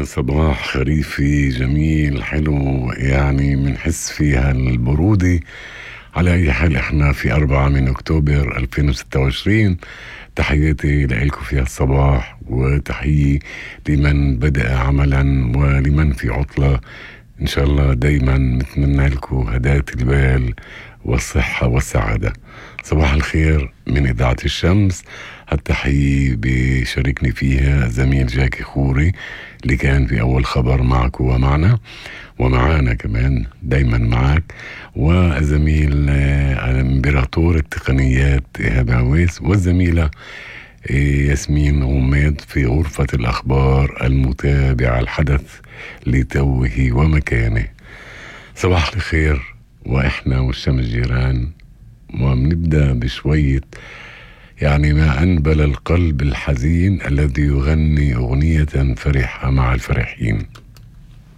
صباح خريفي جميل حلو، يعني منحس فيها البرودة. على أي حال إحنا في 4 من أكتوبر 2026. تحياتي لإلكم في الصباح، وتحية لمن بدأ عملا ولمن في عطلة. إن شاء الله دايما نتمنى لكم هداية البال والصحة والسعادة. صباح الخير من إذاعة الشمس. التحية بشاركني فيها زميل جاكي خوري اللي كان في أول خبر معك ومعنا ومعانا كمان دايما معك، وزميل امبراطور التقنيات إيهاب عويس، والزميلة ياسمين غميد في غرفة الأخبار المتابعة الحدث لتوه ومكانه. صباح الخير، وإحنا والشمس جيران، وبنبدأ بشوية يعني ما أنبل القلب الحزين الذي يغني أغنية فرحة مع الفرحين.